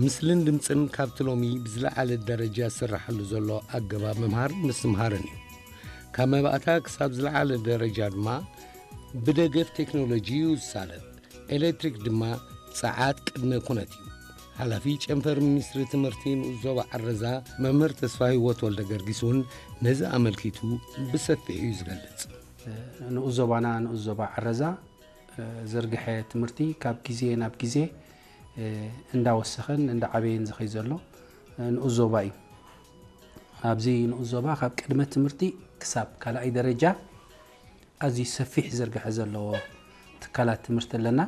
ምስልን ድምፅን ካብቲ ሎሚ ብዝለዓለ ደረጃ ዝስራሓሉ ዘሎ ኣገባብ ምምሃር ምስትምሃርን እዩ። ካብ መባእታ ክሳብ ዝለዓለ ደረጃ ድማ ብደገፍ ቴክኖሎጂ እዩ ዝሳለጥ። ኤሌክትሪክ ድማ ጸዓት ቅድመ ኩነት እዩ። ሓላፊ ጨንፈር ሚኒስትሪ ትምህርቲ ንኡስ ዞባ ዓረዛ መምህር ተስፋ ህይወት ወልደ ገርጊስ እውን ነዚ ኣመልኪቱ ብሰፊሕ እዩ ዝገልጽ። ንኡስ ዞባና፣ ንኡስ ዞባ ዓረዛ፣ ዘርግሐ ትምህርቲ ካብ ግዜ ናብ ግዜ እንዳወሰኸን እንዳዓበየን ዝኸይ ዘሎ ንኡስ ዞባ እዩ። ኣብዚ ንኡስ ዞባ ካብ ቅድመ ትምህርቲ ክሳብ ካልኣይ ደረጃ ኣዝዩ ሰፊሕ ዝርግሐ ዘለዎ ትካላት ትምህርቲ ኣለና።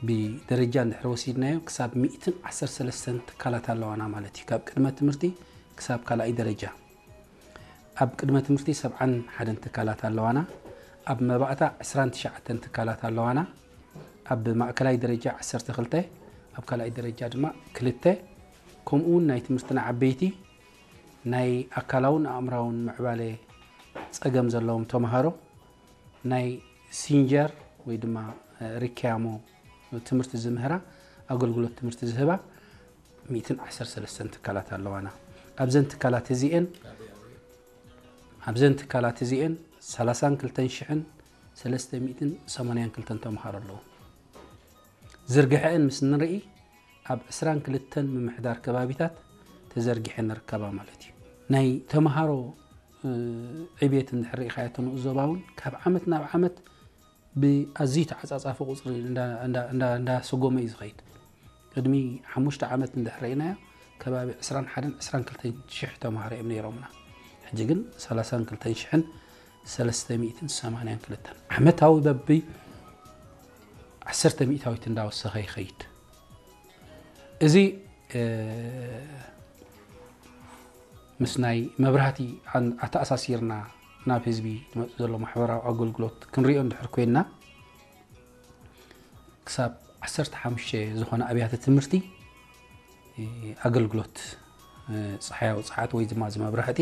ብደረጃ እንድሕር ወሲድናዮ ክሳብ ሚእትን ዓሰርተ ሰለስተን ትካላት ኣለዋና ማለት እዩ። ካብ ቅድመ ትምህርቲ ክሳብ ካልኣይ ደረጃ። ኣብ ቅድመ ትምህርቲ ሰብዓን ሓደን ትካላት ኣለዋና። ኣብ መባእታ ዕስራን ትሽዓተን ትካላት ኣለዋና። ኣብ ማእከላይ ደረጃ ዓሰርተ ክልተ፣ ኣብ ካልኣይ ደረጃ ድማ ክልተ። ከምኡ እውን ናይ ትምህርትና ዓበይቲ ናይ ኣካላውን ኣእምራውን ምዕባለ ጸገም ዘለዎም ተምሃሮ ናይ ሲንጀር ወይ ድማ ሪኪያሞ ትምህርቲ ዝምህራ ኣገልግሎት ትምህርቲ ዝህባ ሚእትን ዓሰርተ ሰለስተን ትካላት ኣለዋና። ኣብዘን ትካላት እዚኤን ኣብዘን ትካላት እዚኤን ሰላሳን ክልተን ሽሕን ሰለስተ ሚእትን ሰማንያን ክልተን ተምሃሮ ኣለዉ። ዝርግሐአን ምስ ንርኢ ኣብ ዕስራን ክልተን ምምሕዳር ከባቢታት ተዘርጊሐን ንርከባ ማለት እዩ። ናይ ተምሃሮ ዕብየት እንድሕር ርኢኻዮ እቶ ንኡስ ዞባ እውን ካብ ዓመት ናብ ዓመት ብኣዝዩ ተዓጻጻፊ ቁጽሪ እንዳሰጎመ እዩ ዝኸይድ። ቅድሚ ሓሙሽተ ዓመት እንድሕር ርኢናዮ ከባቢ ዕስራን ሓደን ዕስራን ክልተን ሽሕ ተምሃሮ እዮም ነይሮምና። ሕጂ ግን ሰላሳን ክልተን ሽሕን ሰለስተ ሚእትን ሰማንያን ክልተን ዓመታዊ በቢ ዓሰርተ ሚእታዊት እንዳወሰኸ ይኸይድ። እዚ ምስ ናይ መብራህቲ ኣተኣሳሲርና ናብ ህዝቢ ዝመፅእ ዘሎ ማሕበራዊ ኣገልግሎት ክንሪኦ እንድሕር ኮይንና ክሳብ ዓሰርተ ሓሙሽተ ዝኾነ ኣብያተ ትምህርቲ ኣገልግሎት ፀሓያዊ ፀዓት ወይ ድማ ዝመብራህቲ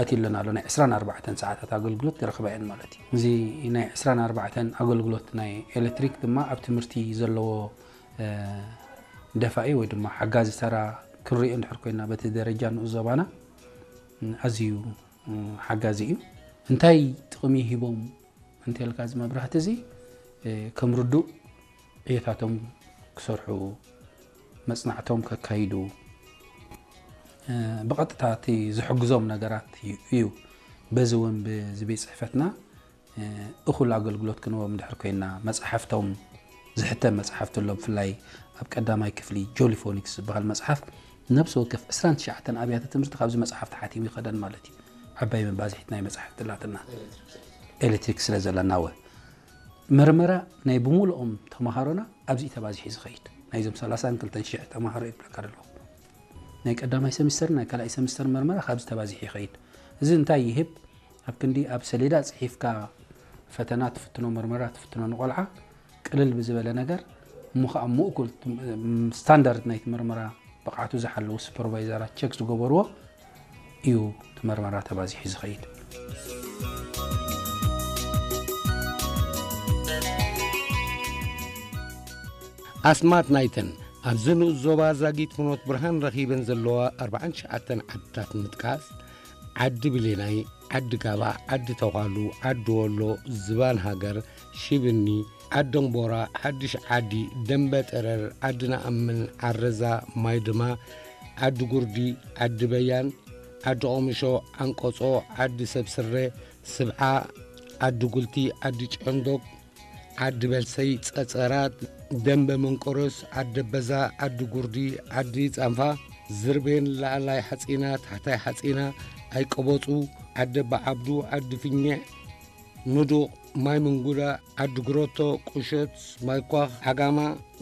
ኣትዩለን ኣሎ። ናይ ዕስራን ኣርባዕተን ሰዓታት ኣገልግሎት ዝረኽባ እየን ማለት እዩ። እዚ ናይ ዕስራን ኣርባዕተን ኣገልግሎት ናይ ኤሌክትሪክ ድማ ኣብ ትምህርቲ ዘለዎ ደፋኢ ወይ ድማ ሓጋዚ ተራ ክንሪኦ እንድሕር ኮይና በቲ ደረጃ ንኡስ ዞባና ኣዝዩ ሓጋዚ እዩ። እንታይ ጥቕሚ ሂቦም እንተልካ እዚ መብራህቲ እዚ ከም ርዱእ ዕዮታቶም ክሰርሑ፣ መጽናዕቶም ከካይዱ፣ ብቐጥታ እቲ ዝሕግዞም ነገራት እዩ። በዚ እውን ብዚ ቤት ጽሕፈትና እኹል ኣገልግሎት ክንዎም እንድሕር ኮይና፣ መጽሓፍቶም ዝሕተም መጽሓፍቲ ኣሎ። ብፍላይ ኣብ ቀዳማይ ክፍሊ ጆሊፎኒክስ ዝበሃል መጽሓፍ ነብሲ ወከፍ ዕስራን ትሽዓተን ኣብያተ ትምህርቲ ካብዚ መጽሓፍ ተሓቲሙ ይኸደን ማለት እዩ። ዓባይ መባዝሒት ናይ መጽሓፍቲ ኣላትና ኤሌክትሪክ ስለ ዘለና። ወ መርመራ ናይ ብምሉኦም ተምሃሮና ኣብዚ ተባዚሒ ዝኸይድ ናይዞም ሰላሳን ክልተን ሽሕ ተምሃሮ ይብለካ ኣለኹ። ናይ ቀዳማይ ሰሚስተር ናይ ካልኣይ ሰሚስተር መርመራ ካብዚ ተባዚሒ ይኸይድ። እዚ እንታይ ይህብ? ኣብ ክንዲ ኣብ ሰሌዳ ጽሒፍካ ፈተና ትፍትኖ፣ መርመራ ትፍትኖ ንቆልዓ ቅልል ብዝበለ ነገር እሞ ከዓ ምእኩል ስታንዳርድ ናይቲ መርመራ ብቕዓቱ ዝሓለዉ ሱፐርቫይዘራት ቸክ ዝገበርዎ እዩ እቲ መርመራ ተባዚሑ ዝኸይድ። ኣስማት ናይተን ኣብዚ ንኡስ ዞባ ዛጊት ፍኖት ብርሃን ረኺበን ዘለዋ ኣርባዓን ትሽዓተን ዓድታት ንምጥቃስ፣ ዓዲ ብሌናይ፣ ዓዲ ጋባ፣ ዓዲ ተዃሉ፣ ዓዲ ወሎ፣ ዝባን ሃገር፣ ሽብኒ፣ ዓደምቦራ፣ ሓድሽ ዓዲ፣ ደንበ ጠረር፣ ዓዲ ነኣምን፣ ዓረዛ፣ ማይድማ፣ ዓዲ ጉርዲ፣ ዓዲ በያን፣ ዓዲ ቆምሾ፣ ዓንቀጾ፣ ዓዲ ሰብ ስረ፣ ስብዓ፣ ዓዲ ጉልቲ፣ ዓዲ ጨንዶግ፣ ዓዲ በልሰይ፣ ጸጸራት፣ ደንበ መንቆሮስ፣ ዓዲ በዛ፣ ዓዲ ጉርዲ፣ ዓዲ ጻንፋ፣ ዝርቤን፣ ላዕላይ ሓጺና፣ ታሕታይ ሓጺና፣ ኣይቀበጹ፣ ዓዲ ኣባዓብዱ፣ ዓዲ ፍኘዕ፣ ንዱቕ፣ ማይ ምንጉዳ፣ ዓዲ ግሮቶ፣ ቁሸት፣ ማይ ኳኽ፣ ዓጋማ፣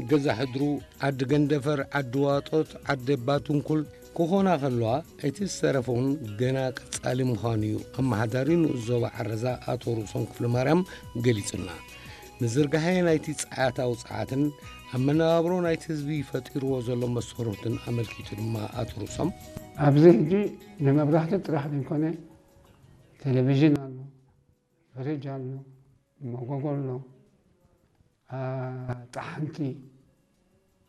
ገዛ ሕድሩ፣ ዓዲ ገንደፈር፣ ዓዲ ዋጦት፣ ዓዲ ኣባትንኩል ክኾና ከለዋ፣ እቲ ዝተረፈ እውን ገና ቀጻሊ ምዃኑ እዩ ኣመሓዳሪ ንኡስ ዞባ ዓረዛ ኣቶ ርእሶም ክፍለማርያም ገሊጹልና። ምዝርጋሐ ናይቲ ጸዓታዊ ጸዓትን ኣብ መነባብሮ ናይቲ ህዝቢ ፈጢርዎ ዘሎ መሰረትን ኣመልኪቱ ድማ ኣቶ ርእሶም፣ ኣብዚ ሕጂ ንመብራህቲ ጥራሕ ዘይኮነ፣ ቴሌቪዥን ኣሎ፣ ፍሪጅ ኣሎ፣ መጎጎ ኣሎ፣ አ፣ ጠሓንቲ፣